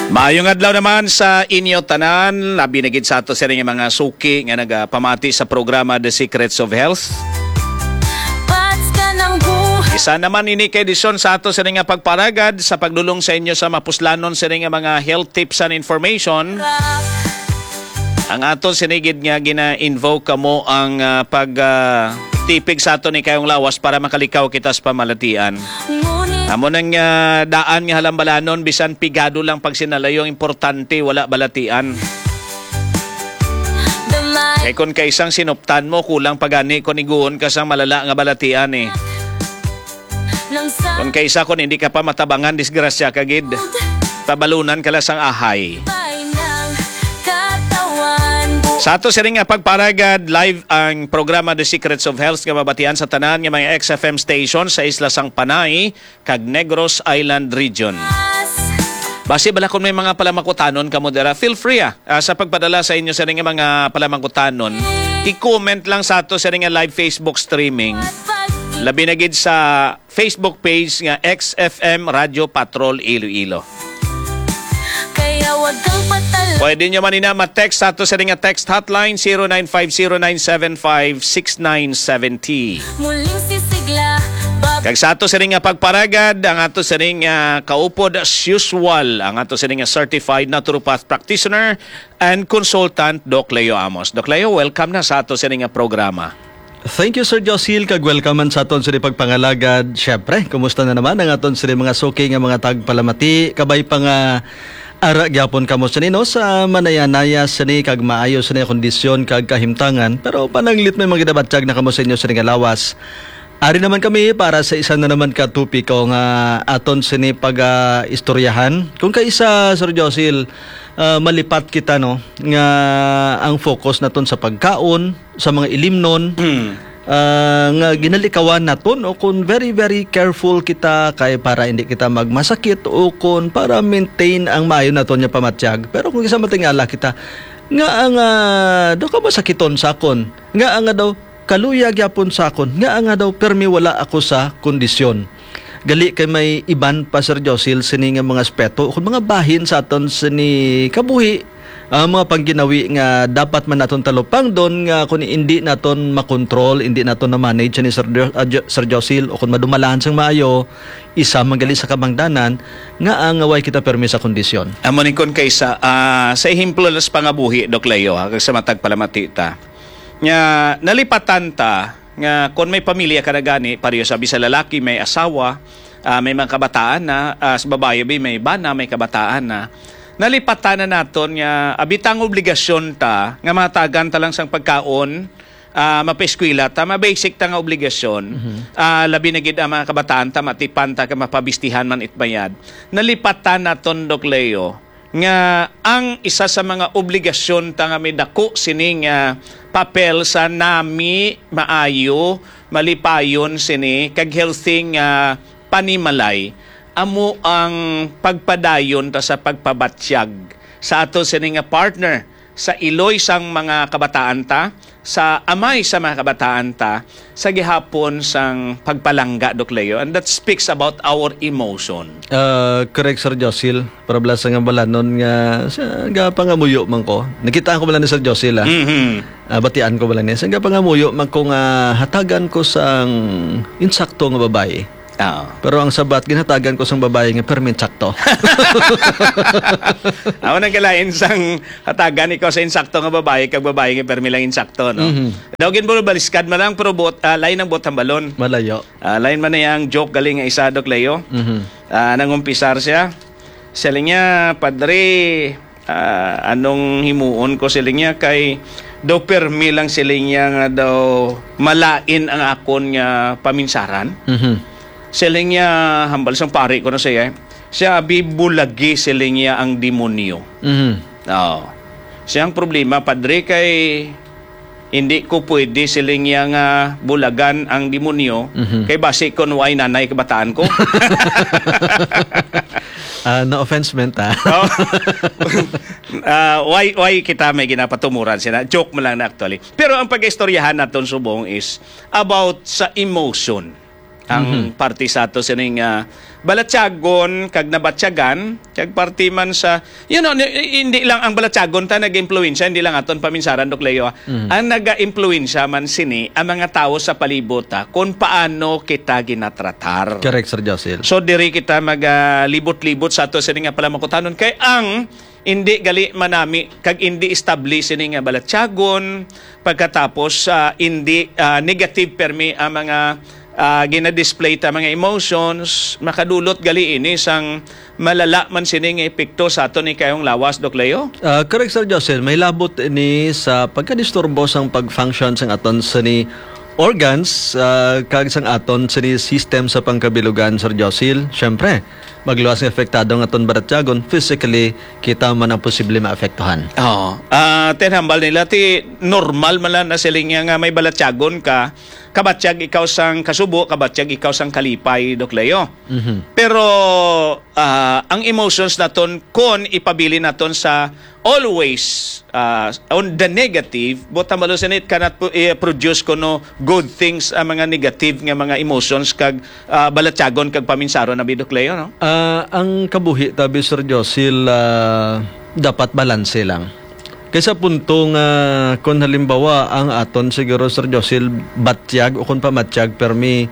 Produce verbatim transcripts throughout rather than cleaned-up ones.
Maayong adlaw naman sa inyo tanan, labi na gid sa ato sini nga mga suki nga nagapamati sa programa The Secrets of Health. Pats ka ng buhay. Isa naman ini ka edisyon sa ato sini nga pagparagad sa pagdulong sa inyo sa mapuslanon sini nga mga health tips and information. Ang aton sini gid nga gina-invoke kamo ang, ah, pag, ah, tipig sa aton ni kayong lawas para makalikaw kita sa pamalatian. Ngunit amo nang, ah, daan nga halambalanon, bisan pigado lang pagsinalayo, ang importante wala balatian. Kay kun kaisang sinuptan mo, kulang pa gani kun iguon ka sang malala nga balatian, eh. Kun kaisa, kun hindi ka pa matabangan, disgrasya ka gid. Tabalunan ka lang sang ahay. Sa ato sining nga pagparagad, live ang programa The Secrets of Health nga mabatian sa tanan nga mga X F M station sa isla sang Panay kag Negros Island Region. Basi bala kung may mga palamangkutanon kamo dira, feel free, ah, ah, sa pagpadala sa inyo sining nga mga palamangkutanon. I-comment lang sa ato sining nga live Facebook streaming. Labi na gid sa Facebook page nga X F M Radio Patrol Iloilo. Kaya wag kang patalo. Pwede nyo man ina ma-text sa ato sa nga text hotline, zero nine five zero nine seven five six nine seven zero. Muling sisigla, bab- Kag sa ato sa nga pagparagad, ang ato sa nga kaupod as usual, ang ato sa nga certified naturopath practitioner and consultant, Doc Leo Amos. Doc Leo, welcome na sa ato sa nga programa. Thank you, Sir Josil, kag welcome man sa aton sa pagpangalagad. Syempre, kumusta na naman ang aton sa mga suki nga mga tagpalamati? Kabay pa nga ara gyapon kamo sini, no, sa manayanaya sini kag maayo sini kondisyon kag kahimtangan. Pero pananglit may mga ginabatyag na kamo sa inyo sini nga lawas. Ari naman kami para sa isa na naman ka topiko nga aton sini pag, ah, istoryahan. Kung kaisa, Sir Josil, ah, malipat kita, no, nga ang focus naton sa pagkaon, sa mga ilimnon, Mm. ah, nga ginalikawan naton, o kung very, very careful kita kay para hindi kita magmasakit o kung para maintain ang maayo naton nga pamatyag. Pero kung isa matingala kita, nga ang, ah, do ka masakiton sa akon, nga ang, ah, daw kaluya gyapon sa akon, nga ang, ah, daw permi wala ako sa kondisyon. Gali kay may iban pa, Sir Josil, sini nga mga aspeto o kung mga bahin sa aton sini kabuhi, ah, mga pangginawi nga dapat man naton talupangdon nga kung hindi naton makontrol, hindi naton na-manage ni Sir Jo-, ah, Jo-, Sir Josil, o kung madumalahan sang maayo, isa man gali sa kabangdanan nga ang way kita permi sa kondisyon. Amo ni kun kaysa, ah, sa ehemplo lang sa pangabuhi, Doc Leo, ha, kag sa matag palamati ta. Nga nalipatan ta nga kon may pamilya ka na gani, pareho sa bisan lalaki may asawa, ah, may mga kabataan na, ah, sa babayi bi may bana, may kabataan na. Nalipatan na naton nga abitang obligasyon ta nga mahatagan ta lang sang pagkaon, ah, mapaeskwela ta, ma-basic ta nga obligasyon. Mhm. Ah, labi na gid ang mga kabataan ta, matipan ta ka mapabistihan man it bayad. Nalipatan naton, Doc Leo, nga ang isa sa mga obligasyon ta nga may dako sini nga papel sa nami maayo, malipayon sini kag healthy nga panimalay amo ang pagpadayon ta sa pagpabatyag sa ato sini nga partner, sa iloy sang mga kabataan ta, sa amay sa mga kabataan ta, sa gihapon sang pagpalangga, Doc Leo. And that speaks about our emotion. Ah, correct, Sir Josil. Para bala sa nga balanon nga, sa, gapangamuyo man ko. Nakitaan ko man lang ni Sir Josil, ah. Mhm. Ah, batian ko man lang niya. Sa gapangamuyo man ko nga hatagan ko sang insakto nga babayi. Oo. Pero ang sabat, ginhatagan ko sang babayi nga permi sakto. Amo nang kalain sang hatagan ikaw sa insakto nga babayi kag babayi nga permi lang insakto, no? Mhm. Daw ginbulbaliskad man lang, pero buot, ah, lain ang buot hambalon. Malayo. Ah, lain man niya ang joke galing nga isa, Doc Leo. Mhm. Ah, nangumpisar siya. Siling niya, "Padre, ah, anong himuon ko?" siling niya, "Kay daw permi lang," siling niya, "nga daw malain ang akon nga paminsaran." Mhm. Siling niya, hambal sang pari ko na siya, eh. Siya, "Abi, bulagi," siling niya, "ang demonyo." Mhm. Oo. Siya ang problema, Padre, kay hindi ko pwede siling niya nga bulagan ang demonyo, Mhm. kay basi kon way nanay kabataan ko. Ah, no offense meant, ah. Oh. Ah, why, why kita may ginapatumuran sila? Joke mo lang na actually. Pero ang pag-istoryahan naton subong is about sa emotion. ang Mhm. parte sa ato sining, ah, balatyagon kag nabatyagan, kag parte man sa, you know, ni-, hindi lang ang balatyagon ta nag-impluwensya, hindi lang aton paminsaran, Doc Leo, ah. Mhm. Ang naga-impluwensya man sini ang mga tawo sa palibot, ah, kung paano kita ginatratar. Correct, Sir Josil. So, diri kita magalibot-libot sa ato sini nga palamukutanon, kay ang hindi gali manami kag hindi establish sini nga balatyagon, pagkatapos, ah, hindi, ah, negative permi ang mga, ah, gina-display ta mga emotions, makadulot gali ini sang malala man sini nga epekto sa aton ni kayong lawas, Doc Leo? Ah, correct, Sir Josil. May labot ini sa pagkadisturbo sang pag-function sang aton sini organs, ah, kag sang aton sini system sa pangkabilugan, Sir Josil. Siyempre, magluwas nga apektado ang aton balatyagon, physically, kita man ang posible maapektuhan. Oo. Ah, tinambal nila, ti normal man lang na siling niya nga may balatyagon ka, kabatyag ikaw sang kasubo, kabatyag ikaw sang kalipay, Doc Leo. Mhm. Pero, ah, ang emotions naton, kon ipabilin naton sa always, ah, on the negative, buot ang balos, it cannot pu-, eh, produce kuno good things ang mga negative nga mga emotions kag, ah, balatyagon kag paminsaron na, Doc Leo, no? Ah, ang kabuhi tabi, Sir Josil, ah, dapat balanse lang. Kay sa punto nga, kung halimbawa, ang aton siguro, Sir Josil, batyag o kung pamatyag, permi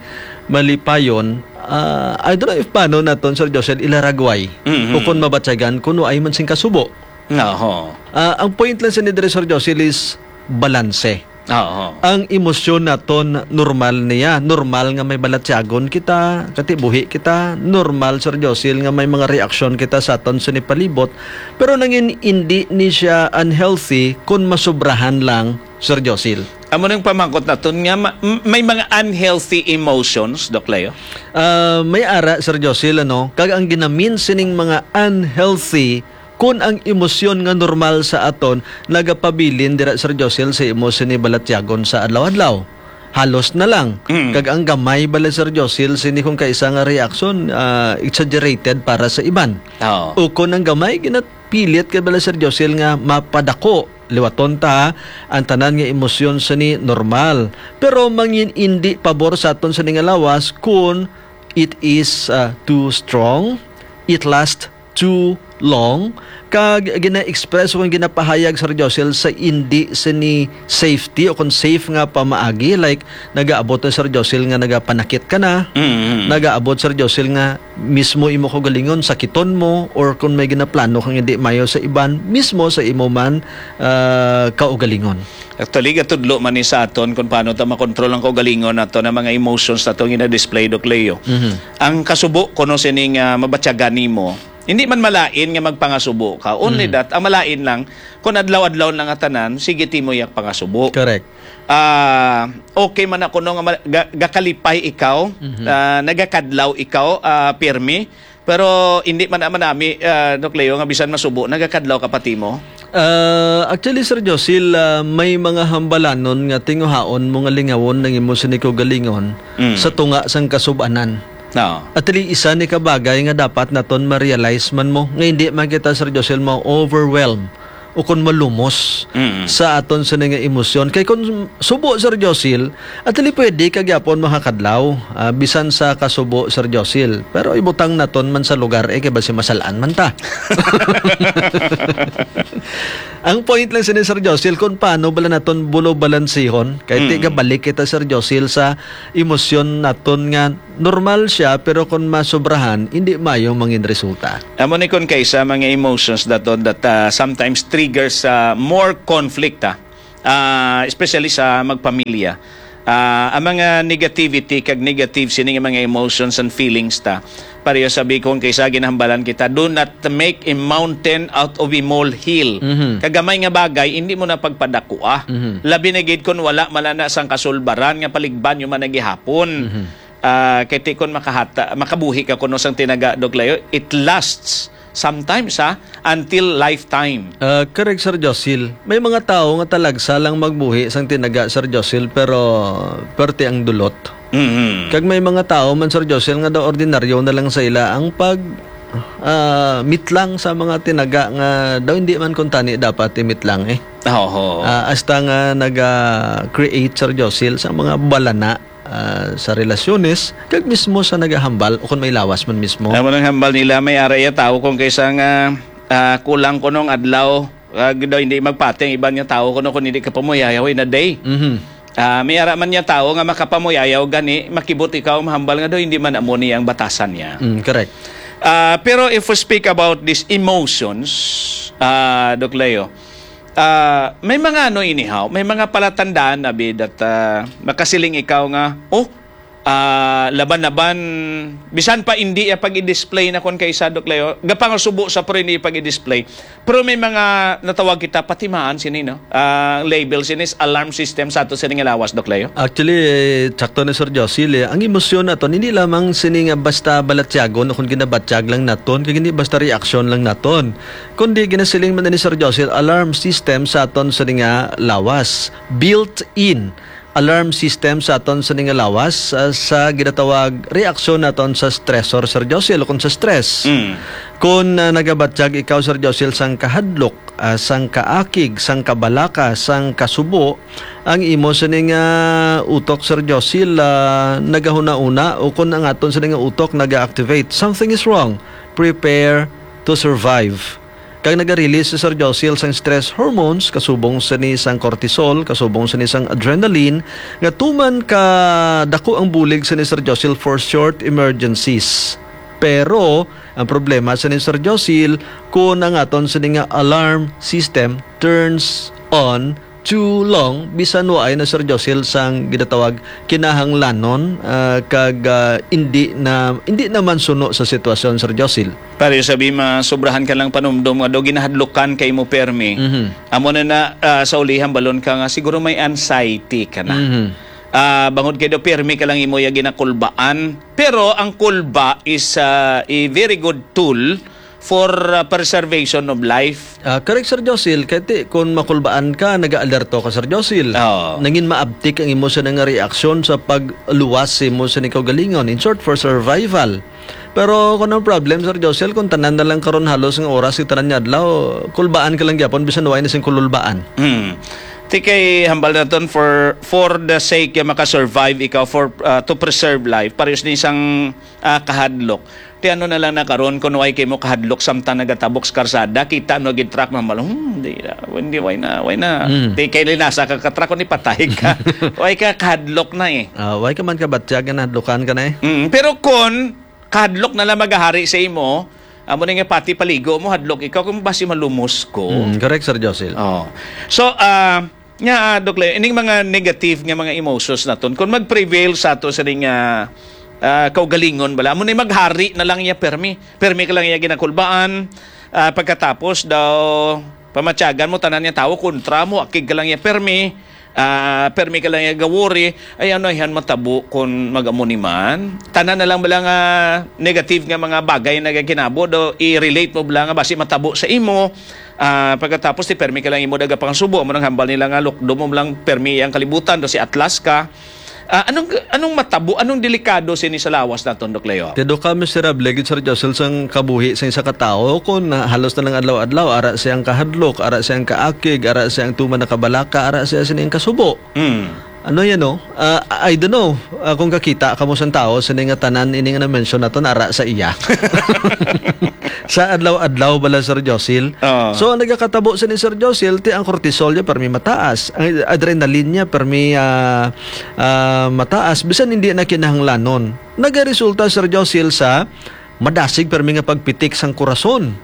malipayon, ah, I don't know if paano naton, Sir Josil, ilaragway Mhm. o kung mabatyagan, kung waay man sing kasubo. Oho. Ah, ang point lang sa ni diri, Sir Josil, is balanse. Oo. Ang emosyon naton normal niya. Normal nga may balatyagon kita, katibuhi kita. Normal, Sir Josil, nga may mga reaksyon kita sa aton sa nipalibot. Pero nangin hindi ni siya unhealthy kung masobrahan lang, Sir Josil. Amo nang pamangkot naton nga ma-, m-, may mga unhealthy emotions, Doc Leo? Ah, may ara, Sir Josil, ano? Kag ang ginamin sining mga unhealthy, kun ang emosyon nga normal sa aton nagapabilin dira, Sir Josil, sa imo sini balatyagon sa adlaw-adlaw. Halos na lang. Mm. Kag ang gamay bala, Sir Josil, sini kung kaisa nga reaksyon, ah, exaggerated para sa iban. Oo. O kun ang gamay, ginapilit kay bala, Sir Josil, nga mapadako. Liwaton ta, ha, ang tanan nga emosyon sini normal. Pero mangin indi pabor sa aton sini nga lawas kun it is, ah, too strong, it lasts too long, kag gina-express o ginapahayag, Sir Josil, sa indi sini safety o kung safe nga pamaagi, like, nagaabot na, Sir Josil, nga nagapanakit ka na, Mm-hmm. nagaabot, Sir Josil, nga mismo imo kaugalingon, sakiton mo, or kung may ginaplano kang hindi mayo sa iban, mismo sa imo man, ah, kaugalingon. Actually, gatudlo man ni sa aton kung paano ta makontrol ang kaugalingon nato na mga emotions nato nga gina-display, Doc Leo. Mhm. Ang kasubo kuno sining, ah, mabatyagan nimo, hindi man malain nga magpangasubo ka. Only Mhm. that, ang malain lang, kung adlaw-adlaw na nga tanan, sige ti mo yak pangasubo. Correct. Ah, okay man na kuno nga ma-, ga-, gakalipay ikaw, Mhm. ah, nagakadlaw ikaw, ah, pirmi, pero hindi man naman nami, ah, Doc Leo, nga bisan masubo, nagakadlaw ka pati mo? Ah, actually, Sir Josil, ah, may mga hambalanon nga tinguhaon mo nga lingawon ang imo sini kaugalingon Mm. sa tunga sang kasub-anan. Oo. Actually, isa ni ka bagay nga dapat naton ma-realize man mo, nga hindi man kita, Sir Josil, ma-overwhelm o kon malumos Mm. sa aton sini nga emosyon. Kay kon subo, Sir Josil, actually pwede ka gyapon makakadlaw, ah, bisan sa kasubo, Sir Josil. Pero ibutang naton man sa lugar, eh, kay basi masal-an man ta. Ang point lang sini, Sir Josil, kung paano bala naton bulo balansihon, kay ti Mm. gabalik kita, Sir Josil, sa emosyon naton nga normal siya, pero kung masobrahan, hindi mayo mangin resulta. Amo ni, kung kaisa mga emotions daton that, ah, sometimes triggers, ah, more conflict, ah. Ah, especially sa magpamilya. Ah, ang mga negativity kag negative sini nga mga emotions and feelings ta. Pareho sabi ko, kung kaisa ginahambalan kita, "Do not make a mountain out of a molehill." Mhm. Kagamay nga bagay, hindi mo na pagpadakua. Mhm. Labi na gid kung wala man na sang kasulbaran nga paligban nyo man na gihapon. Mhm. Ah, kay ti kon makahata-, makabuhi ka kuno sang tinaga, Doc Leo, it lasts sometimes, ha, until lifetime. Ah, correct, Sir Josil. May mga tawo nga talagsa lang magbuhi sang tinaga, Sir Josil, pero perti ang dulot. Mhm. Kag may mga tawo man, Sir Josil, nga daw ordinaryo na lang sa ila ang pag, ah, mitlang sa mga tinaga nga daw hindi man kuntani dapat imitlang, eh. Oho. Ah, hasta nga naga-create, Sir Josil, sa mga balana. ah, sa relasyones, kag mismo sa nagahambal o kon may lawas man mismo. Amo nang hambal nila, may ara iya tawo kon kaysa nga, ah, kulang kuno ang adlaw, ah, daw hindi magpati ang iban nga tawo kuno kon hindi ka pamuyayaw in a day. Mhm. Ah, may ara man niya tawo nga makapamuyayaw gani, makibot ikaw mahambal nga daw hindi man amo niya ang batasan niya. Mm, correct. Ah, pero if we speak about these emotions, ah, Doc Leo, ah, may mga ano, anyhow, may mga palatandaan abi that, ah, makasiling ikaw nga, "Oh, ah, laban-laban, bisan pa hindi iya pag-i-display na kon kaysa, Doc Leo, gapangasubo sa pero hindi pag-i-display." Pero may mga natawag kita patimaan sini, no? Ah, label sini is alarm system sa ato sini nga lawas, Doc Leo. Actually, eh, sakto ni Sir Josil, eh. Ang emosyon naton, hindi lamang sini nga basta balatyagon o kung ginabatyag lang naton, kag hindi basta reaksyon lang naton. Kundi ginasiling man ni Sir Josil, alarm system sa aton sini nga lawas. Built-in alarm system sa aton sini nga lawas, ah, sa ginatawag reaksyon naton sa stressor, Sir Josil, o kung sa stress. Mm. Kung, ah, nagabatyag ikaw, Sir Josil, sang kahadlok, ah, sang kaakig, sang kabalaka, sang kasubo, ang imo sini nga utok, Sir Josil, ah, nagahuna-una, o kung ang aton sini nga utok naga-activate, something is wrong. Prepare to survive. Kag naga-release si Sir Josil sang stress hormones, kasubong sini sang cortisol, kasubong sini sang adrenaline, nga tuman ka dako ang bulig sini, Sir Josil, for short emergencies. Pero ang problema sini, Sir Josil, kung ang aton sini nga alarm system turns on too long, bisan waay na, Sir Josil, sang ginatawag kinahanglanon, ah, kag, ah, indi na, indi naman suno sa sitwasyon, Sir Josil. Pare, sabi, masobrahan ka lang panumdom nga daw ginahadlukan kay mo permi. Mhm. Amo na na, ah, sa ulihan, balon ka nga siguro may anxiety ka na. Mhm. Ah, bangod kay daw permi ka lang imo ya ginakulbaan. Pero ang kulba is, ah, a very good tool for, ah, preservation of life. Ah, correct, Sir Josil. Kay ti, kung makulbaan ka, nag-aalerto ka, Sir Josil. Oo. Nangin maabtik ang imo sa nga reaksyon sa pagluwas sa imo sa kaugalingon. In short, for survival. Pero kung ang problem, Sir Josil, kung tanan na lang karon halos nga oras, sa tanan nga adlaw, kulbaan ka lang gyapon, bisan way na sing kululbaan. Hmm. Ti kay hambal naton for, for the sake nga makasurvive ikaw, for, ah, to preserve life, parehas ni isang, ah, kahadlok. Ti ano na lang na karon, kung way kay mo kahadlok samtang nagatabok sa karsada, kita no gid truck, mahambal, "Hmm, di na, hindi, way na, way na." Hmm. Ti kay linasa ka ka truck, kung ipatay ka. Way ka kahadlok na eh. Ah, way ka man kabatyag nga nahadlokan ka na eh. Mm, pero kung kahadlok na lang magahari sa imo, amo na nga pati paligo mo, hadlok ikaw kung basi malumos ko. Mm, correct, Sir Josil. Oh. So, ah, nga, ah, Doc Leo, ining mga negative nga mga emotions naton, kung mag-prevail sa ato sa ning, ah, ah, kaugalingon bala, amo na maghari na lang iya permi. Permi ka lang iya ginakulbaan, ah, pagkatapos daw pamatyagan mo tanan nga tawo kontra mo, akig ka lang iya permi. Ah, permi ka lang iya gawori, ay ano, ayhan matabo kon mag-amo ni man. Tanan na lang bala nga negative nga mga bagay nagakinabo, do i-relate mo bala nga basi matabo sa imo. Ah, pagkatapos ti permi ka lang imo daga pangasubo, amo nang hambal nila nga lukdo mo lang permi ang kalibutan, do si Atlas ka. Ah, anong, anong matabo, anong delikado sini sa lawas naton, Doc Leo? Ti daw ka miserable gid, Sir Josil, sang kabuhi sang isa ka tawo, kun, ah, halos na lang adlaw-adlaw, ara siyang kahadlok, ara siyang kaakig, ara siyang tuman nakabalaka, ara siya sining kasubo. Mm. Ano yan, no? Ah, I don't know, ah, kung kakita ka mo sang tawo, sini nga tanan, ini nga na-mention naton, ara sa iya. Sa adlaw-adlaw bala, Sir Josil. Oo. So, ang nagakatabo sini, Sir Josil, ti ang cortisol niya, permi mataas. Ang adrenaline niya, permi, ah, ah, mataas. Bisan hindi na kinahanglanon. Nagaresulta, Sir Josil, sa madasig permi nga pagpitik sang kurason.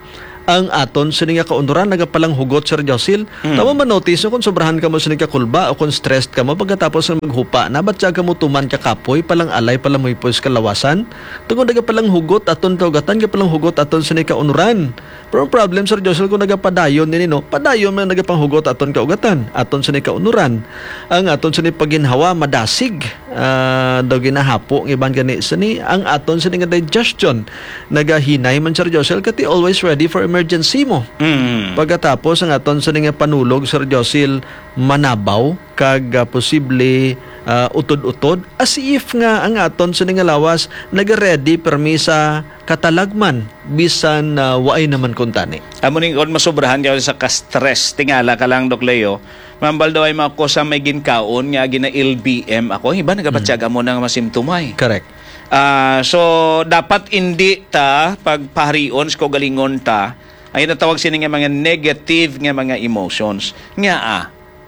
Ang aton sini nga kaunuran nagapalanghugot, Sir Josil. Mm. Tama man, notice, kung sobrahan ka mo sini ka kulba o kung stressed ka mo, pagkatapos nga maghupa na, ba't siya ka mo tuman ka kapoy, palang alay, palamuypoy sa kalawasan? Tungod nagapalanghugot aton kaugatan, gapalanghugot aton sini kaunuran. Pero ang problem, Sir Josil, kung nagapadayon ini, no? Padayon man nagapanghugot aton kaugatan, aton sini kaunuran. Ang aton sini paginhawa, madasig. Ah, daw ginahapo ang iban gani sini, ang aton sini nga digestion nagahinay man, Sir Josel, kati always ready for emergency mo. Mm. Pagkatapos ang aton sini nga panulog, Sir Josel, manabaw kag, ah, posible, ah, utod-utod, as if nga ang aton sini nga lawas nagaready permi sa katalagman bisan, ah, waay naman kuntani. Amo ning kon masobrahan ka sa ka-stress, tingala ka lang, Doc Leo, mambal daw ay mga kosa may ginkaon nga gina-L B M ako. Iban Nagabatyagan mo na nga masimtumay. Correct. Ah, so, dapat indi ta pagpaharion sa kaugalingon ta ang ginatawag sini nga mga negative nga mga emotions. Nga, ah,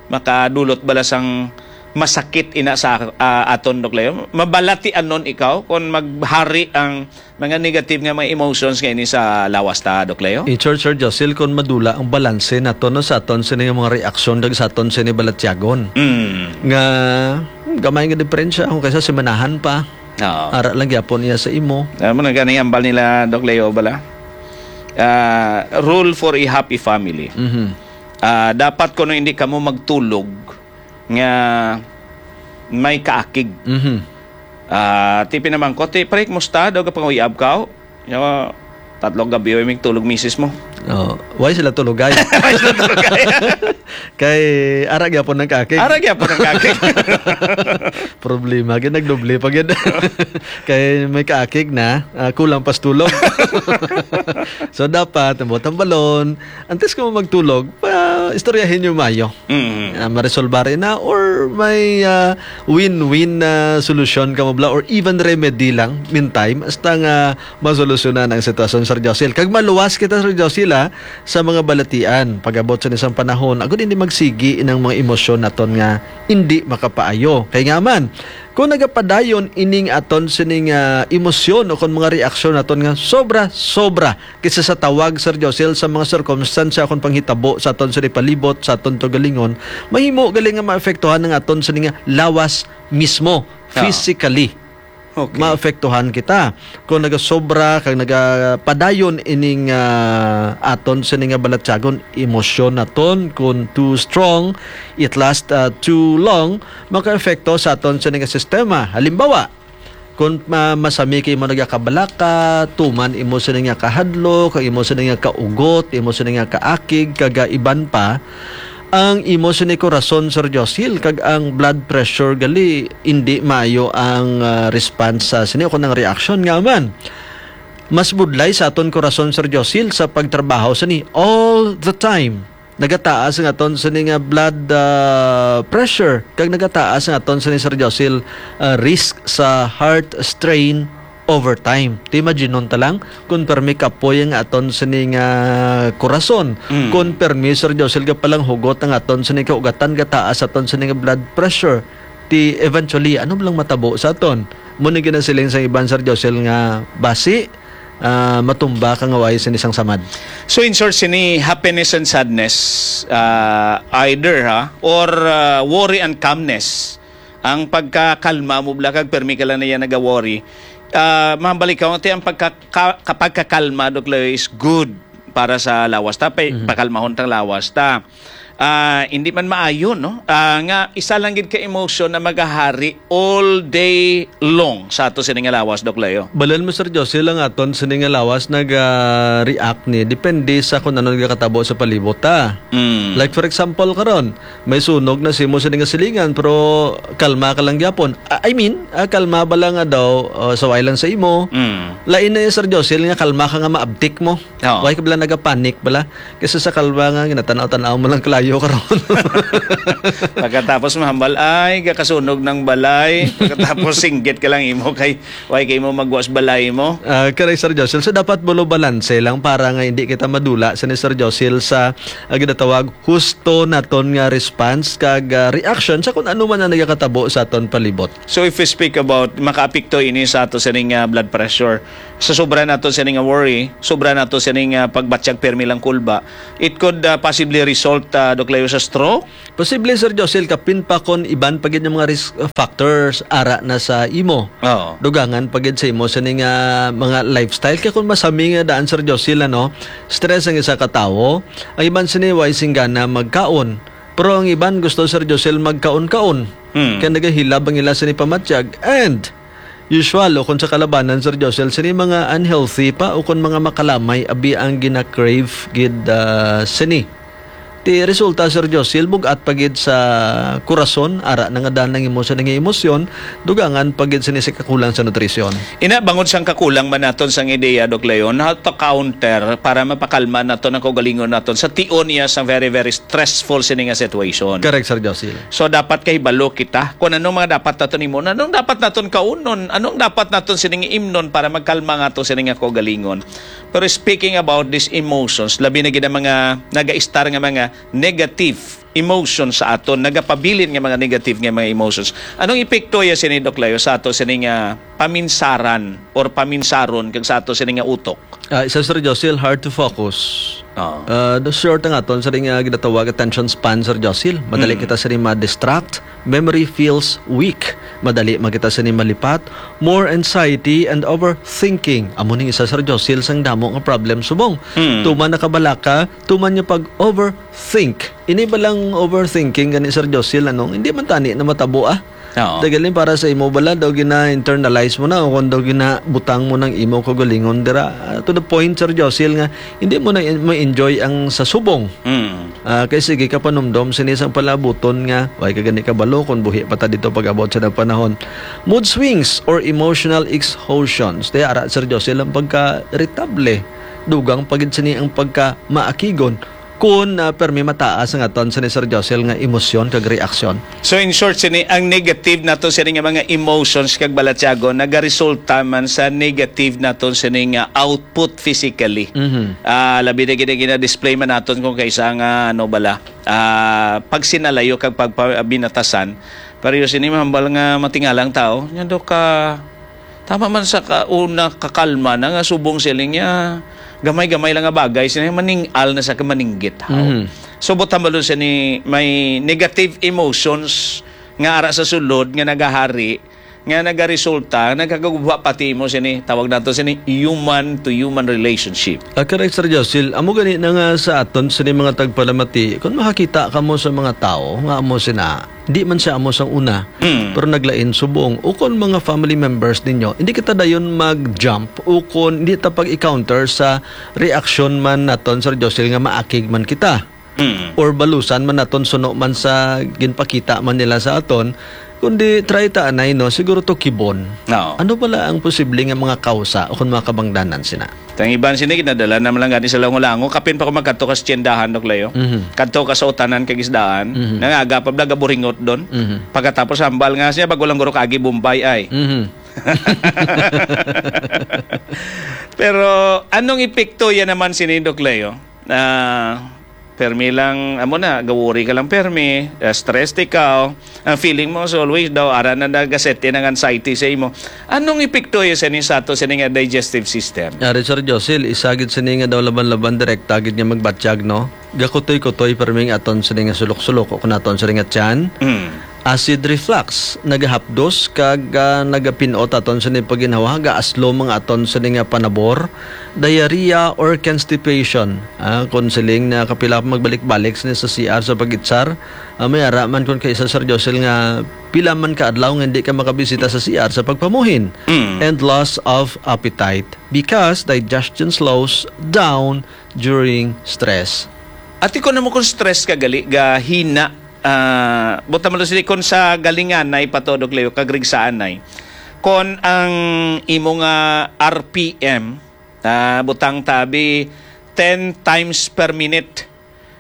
makadulot bala sang masakit ina sa, ah, aton, Doc Leo? Mabalatianon ikaw kung maghari ang mga negative nga mga emotions nga ini sa lawas ta, Doc Leo? In short, Sir Josil, kung madula ang balanse nato, no, sa aton sini nga mga reaksyon kag sa aton sini balatyagon. Mm. Nga, hmm, gamay nga diferensya kung kaysa simanahan pa. Oo. Ara lang gyapon iya sa imo. Alam mo na gani ang bal nila, Doc Leo, bala? Ah, rule for a happy family. Mhm. Ah, dapat kuno hindi kamo magtulog nga may kaakig. Mhm. Ah, ti pinamangkot, ti, "Pre, kumusta? Daw ka panguyab ka?" Yo, tatlo gabi, way migtulog misis mo. Oh, why sila tulugay? Why sila tulugay? Kay ara gyapon ang kaakig. Ara gyapon ang kaakig. Problema gyud, nagdoble pa gyud. Kay may kaakig na, ah, kulang pas tulog. So, dapat, ang buot hambalon, antes ka mo magtulog, pa, istoryahin niyo mayo. Mm. Ah, maresolbar na or may, ah, win-win na solusyon ka mo bala or even remedy lang, meantime, hasta nga masolusyonan ang sitwasyon, Sir Josil. Kag maluwas kita, Sir Josil, ah, sa mga balatian. Pag-abot sa isang panahon, agud hindi magsigi inang mga emosyon naton nga hindi makapaayo. Kay nga man, kung nagapadayon ining aton sining, ah, emosyon o kung mga reaksyon naton nga sobra-sobra kaysa sa tawag, Sir Josil, sa mga sirkumstansya o kung panghitabo sa aton sini palibot, sa aton tugalingon, mahimo gali nga maapektuhan ang aton sini nga lawas mismo, Ah. physically. Okay. Maapektuhan kita. Kung nagasobra kag nagapadayon ining, ah, aton sini nga balatyagon, emosyon naton, kung too strong, it last, ah, too long, makaepekto sa aton sini nga sistema. Halimbawa, kung ma-, masami kay imo nagakabalaka, tuman imo sini nga kahadlok, kag imo sini nga kaugot, imo sini nga kaakig, kag, ah, iban pa, ang imo sini korason, Sir Josil, kag ang blood pressure gali, indi maayo ang, ah, response sa sini o kung ang reaksyon nga man. Mas budlay sa aton korason, Sir Josil, sa pagtrabaho sini all the time. Nagataas ang aton sini nga blood, ah, pressure, kag nagataas ang aton sini, Sir Josil, ah, risk sa heart strain over time. Ti imagine ta lang, kung permi kapoy ang aton sini nga korason, Mm. kung permi, Sir Josil, ka palang hugot ang aton sini kaugatan, gataas aton sini nga blood pressure. Ti eventually, ano lang matabo sa aton? Mo ni ginasiling sa iban, Sir Josil, nga basi, ah, matumba ka nga way sini sang samad. So, in short, sini happiness and sadness, ah, either, ha, or, ah, worry and calmness. Ang pagkakalma mo bala kag permi ka lang na yan naga-worry. Ah, mahambal ikaw, ti ang pagka-, ka-, kapagkakalma, Doc Leo, is good para sa lawas ta, pa-, Mhm. pakalmahon tang lawas ta. Ah, hindi man maayo, no? Ah, nga isa lang gid ka emotion na magahari all day long sa ato sini nga lawas, Doc Leo. Balan mo, Sir Josil, ang aton sini nga lawas nag, ah, react ni depende sa kung ano nagakatabo sa palibot ta. Mm. Like, for example, karon, may sunog na sa imo sini nga silingan, pero kalma ka lang gyapon. Ah, I mean, ah, kalma ba lang nga daw, ah, sa way lang sa imo? Mm. Lain na yun, Sir Josil, nga kalma ka nga maabtik mo. Oo. Why ka bala nagapanic bala? Kaysa sa kalma nga ginatanaw-tanaw mo lang kalayo karon. Pagkatapos mahambal, ay, gakasunog ng balay. Pagkatapos singgit ka lang imo kay, why kay mo magwas balay mo? Ah, correct, Sir Josil. So, dapat bulo balanse lang para nga hindi kita madula sa ni Sir Josil sa, ah, ginatawag husto naton nga response kag, ah, reaction sa kung ano man ang nagakatabo sa aton palibot. So, if we speak about makaapekto ini sa ato sining, ah, blood pressure, sa sobra nato sining, ah, worry, sobra nato sining, ah, pagbatyag pirmi lang kulba, it could, ah, possibly result, ah, Doc Leo, sa stroke? Posible, Sir Josil, kapin pa kon iban pa gid nga mga risk factors ara na sa imo. Oo. Dugangan pa gid sa imo sining, ah, mga lifestyle. Kaya kung masami nga daan, Sir Josil, ano, stress ang isa ka tawo, ang iban sini way singgana magkaon. Pero ang iban gusto, Sir Josil, magkaon-kaon. Hmm. Kaya nagahilab ang ila sini pamatyag. And usual, o kung sa kalabanan, Sir Josil, sini mga unhealthy pa o kung mga makalamay, abi ang gina-crave gid, ah, sini. Ti resulta, Sir Josil, bug-at pa gid sa kurason, ara na nga daan ang imo sa nga emosyon, dugangan pa gid sini sa kakulang sa nutrisyon. Ina, bangod sang kakulang man naton sang ideya, Doc Leon, how to counter para mapakalma naton ang kaugalingon naton sa tion niya sa very, very stressful sini nga situation. Correct, Sir Josil. So, dapat kahibalo kita kung anong mga dapat naton imnon, anong dapat naton kaunon, anong dapat naton sining imnon para magkalma nga ato sini nga kaugalingon. Pero speaking about these emotions, labi na gid ang mga nagaistar nga mga negative emotions sa aton, nagapabilin nga mga negative nga mga emotions. Anong epekto ya sini, Doc Leo, sa ato sini nga paminsaran or paminsaron kag sa ato sini nga utok? Ah, isa, Sir Josil, hard to focus. Oo. Ah, the short ang aton sini nga ginatawag attention span, Sir Josil. Madali Mm. kita sini ma-distract. Memory feels weak. Madali man kita sini malipat. More anxiety and overthinking. Amo ning isa, Sir Josil, sang damo nga problem subong. Mm. Tuman nakabalaka, tuman niya pag-overthink. Ini ba lang overthinking gani, Sir Josil, anong hindi man tani na matabo, ah? Oo. Dagalin para sa imo bala, daw gina-internalize mo na o kung daw ginabutang mo ng imo kaugalingon dira. Ah, to the point, Sir Josil, nga hindi mo na in-, ma-enjoy ang sa subong. Mm. Ah, kay sige ka panumdom sini sang palabuton nga, "Way ka gani kabalo kung buhi pa ta dito pag-abot sa nang panahon." Mood swings or emotional exhaustions. Di ara, Sir Josil, ang pagka-irritable. Dugang pa gid sini ang pagka-maakigon. Kun, ah, permi mataas ang aton sini, Sir Josil, nga emosyon kag reaksyon. So, in short, sini ang negative nato sini nga mga emotions kag balatyagon nagaresulta man sa negative nato sini nga output physically. Mhm. Ah, labi na gid ang gina-display man naton kung kaisa nga, ano bala, ah, pagsinalayo kag pagpabinatasan. Pero sini mahambal nga matingalang tao, nya do ka, tama man sa ka-, una kakalma na nga subong siling niya, gamay-gamay lang nga bagay, sini maning-al na sa kamaningit, haw. Mhm. So, buot hambalon sini may negative emotions nga ara sa sulod nga nagahari, nga nagaresulta, nagkagugma pati mo sini, tawag nato sini human to human relationship. Ah, correct, Sir Josil. Amo gani na nga sa aton sini mga tagpalamati, kung makakita ka mo sa mga tao nga amo sina, di man siya amo sang una, Mm. pero naglain subong, ukon mga family members ninyo, hindi kita dayon mag-jump, ukon hindi ta pag-encounter sa reaksyon man naton, Sir Josil, nga maakig man kita. Mm. Or balusan man naton suno man sa ginpakita man nila sa aton, kundi try ta anay, no, siguro to kibon. Oo. Ano bala ang posible nga mga kausa o kung mga kabangdanan sina? Tang iban sini, ginadala naman lang gani sa lango-lango. Kapin pa ko magkadto ka sa tiyendahan, Doc Leo. Mhm. Kadto ka sa utanan kag isdaan. Mhm. Nangaga pa bala, gaburingot doon. Mhm. Pagkatapos, hambal nga siya, bago lang guro kaagi Bombay, ay. Mhm. Pero, anong epekto yan naman sini, Doc Leo? Ah, permi lang, amo na, gawori ka lang permi, ah, stressed ikaw. Ang feeling mo, so always daw, ara na nagaset in ang anxiety sa imo. Anong epekto yun sa ni-, sa ato, sa ni nga digestive system? Ari, Sir Josil, isa gid sini nga daw laban-laban direkta gid nga magbatyag, no? Gakutoy-kutoy permi ang aton sini nga sulok-sulok o kung aton sini nga tiyan. Mm. Acid reflux, nagahapdos kag, ah, nagapinot aton sini pagginhawa, gaaslom ang aton sini nga panabor, diarrhea or constipation. Ah, kung siling na kapila pa magbalik-balik sini sa C R sa pag-itsar, ah, may ara man kung kaisa, Sir Josil, nga pila man ka adlaw nga hindi ka makabisita sa C R sa pagpamuhin. Mm. And loss of appetite because digestion slows down during stress. Ati ko na mo kung stress ka gali, gahina, ah, buta mo sini kung sa galinganay pa to, Doc Leo, kag rigsaanay. Kon ang imo nga R P M, ah, butang tabi ten times per minute.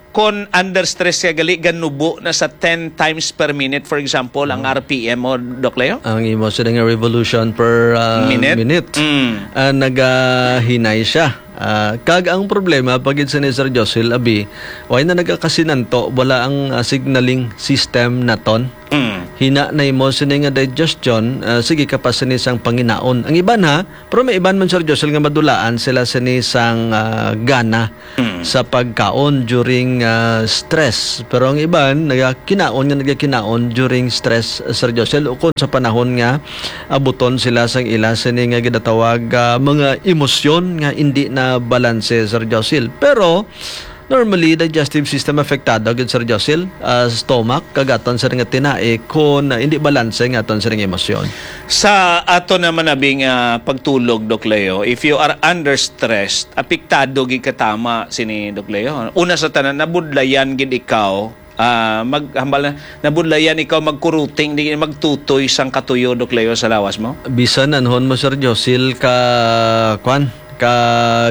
Kon under stress ka gali, ganubo na sa ten times per minute, for example, ang Oh. R P M mo, Doc Leo? Ang imo sila nga revolution per, ah, Minute? minute. Mm. Ah, nagahinay siya. Ah, kag ang problema, pagid sa ni Sir Josil, abi, way na nagakasinanto, wala ang, ah, signaling system naton. Mm. Hina na imo sini nga digestion, ah, sige ka pa sini sang panginaon. Ang iban, ha, pero may iban man, Sir Josil, nga madulaan sila sini sang, ah, gana Mm. sa pagkaon during, ah, stress. Pero ang iban, nagakinaon nga nagakinaon during stress, Sir Josil, ukon sa panahon nga abuton sila sang ila sini nga ginatawag, ah, mga emosyon nga hindi na balanse, Sir Josil. Pero, Normally, digestive system apektado gid, Sir Josil, ah, stomach, kag aton sa nga tinai, kon, ah, hindi balanse nga aton sa nga emosyon. Sa ato naman abi nga pagtulog, Doc Leo, if you are under stress, apektado gid katama sini, Doc Leo. Una sa tanan, nabudlayan gid ikaw, ah, mag-, hambal na, nabudlayan ikaw magkuruting, di magtutoy sang katuyo, Doc Leo, sa lawas mo? Bisan anhon mo, Sir Josil, ka, kwan, ka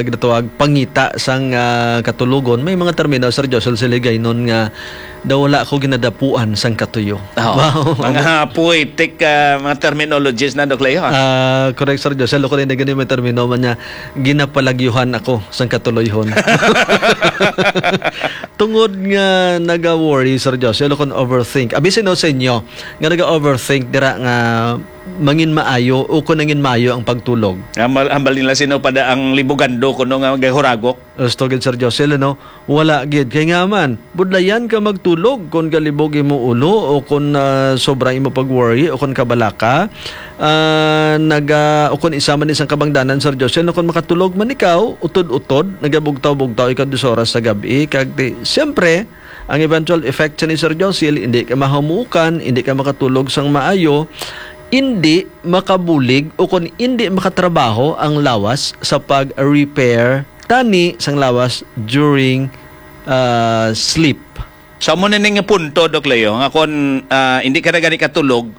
ginatawag pangita sang, ah, katulogon, may mga termino, Sir Josil, sa Hiligaynon nga daw wala ko ginadapuan sang katuyo. Oo. Wow. Mga poetic, ah, mga terminologies na, Doc Leo, ha? Ah, correct, Sir Josil. Ako rin na gani may termino man niya, ginapalagyuhan ako sang katuloyhon. Tungod nga naga-worry, Sir Josil, o kung overthink. Abi sino sa inyo nga naga-overthink dira nga mangin maayo o kung nangin maayo ang pagtulog? Hambal, hambal nila sino pa da ang libugando kuno nga gahuragok. Gusto gid, Sir Josil, ano? Wala gid. Kay nga man, budlayan ka magtulog kung galibog imo ulo o kung, ah, sobra imo pag-worry o kung kabalaka. Ah, naga, o kung isa man isang kabangdanan, Sir Josil, no, kung makatulog man ikaw, utod-utod, nagabugtaw-bugtaw ikaw dos oras sa gab-i, kag di, siyempre, ang eventual effect sa ni Sir Josil, hindi ka mahamukan, hindi ka makatulog sang maayo, hindi makabulig o kung hindi makatrabaho ang lawas sa pag-repair tani sang lawas during, ah, sleep. So, amo na ning punto, Doc Leo, nga kung, ah, hindi ka na gani katulog,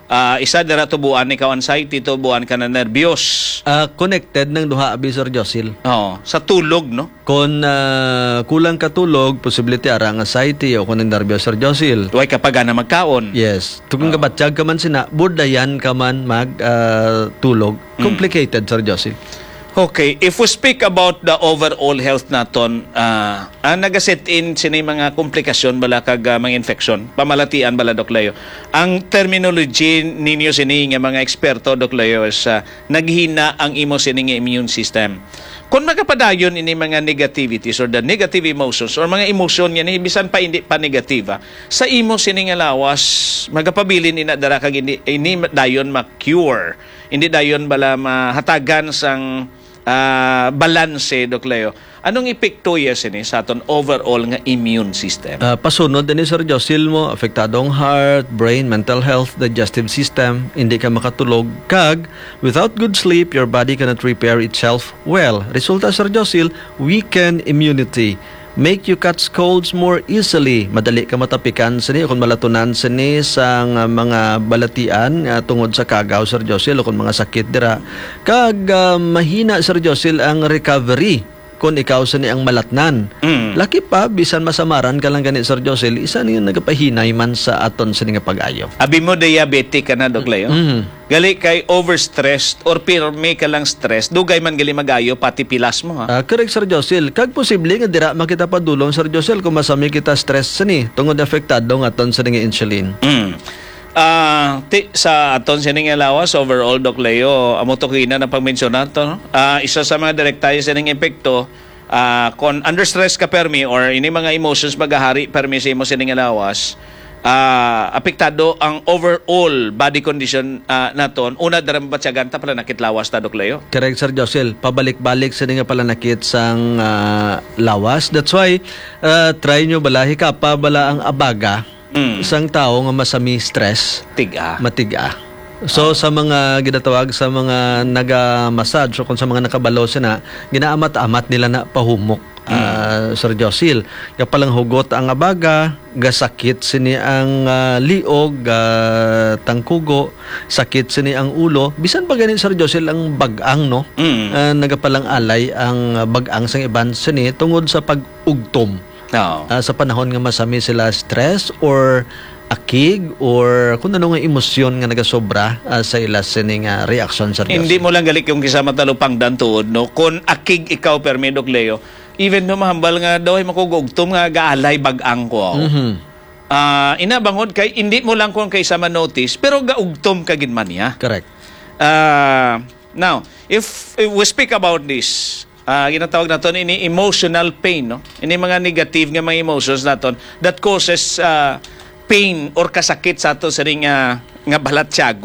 ah, isa dira tubuan ikaw anxiety, tubuan ka na nervyos. Ah, connected ng duha, abi, Sir Josil. Oo, sa tulog, no? Kung, ah, kulang ka tulog, posible ti ara ang anxiety o kung ang nervyos, Sir Josil. Way ka pa gana magkaon. Yes. Kung Oo. kabatyag ka man sina, budlayan ka man mag, ah, tulog. Mm. Complicated, Sir Josil. Okay, if we speak about the overall health naton, ah, ang nagaset in sini mga komplikasyon bala kag, ah, mga infeksyon, pamalatian bala, Doc Leo. Ang terminology ninyo sini nga mga eksperto, Doc Leo, is, ah, naghina ang imo sini nga immune system. Kung magapadayon ini mga negativities or the negative emotions or mga emosyon nga ni bisan pa hindi pa negativa, sa imo sini nga lawas, magapabilin ina dara kag hindi, ini dayon ma-cure. Hindi dayon bala mahatagan sang, ah, balanse, Doc Leo. Anong epekto iya sini sa aton overall nga immune system? Ah, pasunod ini, Sir Josil, mo, apektado ang heart, brain, mental health, digestive system, hindi ka makatulog, kag without good sleep, your body cannot repair itself well. Resulta, Sir Josil, weaken immunity. Make you catch colds more easily. Madali ka matapikan sini o kung malatunan sini sang, ah, mga balatian, ah, tungod sa kagaw, Sir Josil, o kung mga sakit dira. Kag, ah, mahina, Sir Josil, ang recovery kung ikaw sini ang malatnan. Mm. Laki pa, bisan masamaran ka lang gani, Sir Josil, isa niya nagapahinay man sa aton sini nga pag-ayo. Abi mo, diabetic ka na, Doc Leo? Mm. Gali kay overstressed or pirmi ka lang stress, dugay man gali magayo pati pilas mo, ha? Ah, correct, Sir Josil. Kag posible nga dira makita padulong, Sir Josil, kung masami kita stress sini, tungod apektado nga aton sa nga insulin. Mm. Ah, ti, sa aton sini nga lawas, overall, Doc Leo, amo to kina na pagmensyonar to, no? Ah, isa sa mga direkta sa ning epekto, ah, kon under stress ka permi or ini mga emotions magahari permi sa imo sini nga lawas, ah, apektado ang overall body condition, ah, naton. Una, dara mabatyagan ta, palanakit lawas ta, Doc Leo. Correct, Sir Josil. Pabalik-balik sini nga palanakit sang, ah, lawas. That's why, ah, try nyo bala, hikapa bala ang abaga Mm. sang tawo nga masami stress, Tiga. matiga. So, Ah. sa mga ginatawag sa mga naga-massage o kung sa mga nakabalo sina, ginaamat-amat nila na pahumok, Mm. ah, Sir Josil. Gapalanghugot ang abaga, gasakit sini ang, ah, liog, ah, tangkugo, sakit sini ang ulo. Bisan pa gani, Sir Josil, ang bag-ang, no? Mm. Ah, nagapalang-alay ang, ah, bag-ang sang iban sini tungod sa pag-ugtom. Oo. Ah, sa panahon nga masami sila stress or akig or kung ano nga emosyon nga nagasobra, ah, sa ila sini nga reaksyon, Sir Hindi Jocelyn. mo lang gali kung kisa matalupangdan tuod, no? Kung akig ikaw, permi, Doc Leo, even no mahambal nga daw ay makugugtom nga gaalay bag-ang ko, aw. Mhm. Ah, ina bangod kay hindi mo lang kung kaysa ma-notice, pero gaugtom ka gid man niya. Correct. Ah, now, if, if we speak about this, ah, ginatawag naton ini emotional pain, no? Ini mga negative nga mga emotions naton that causes, ah, pain or kasakit sa ato sining, ah, nga balatsyag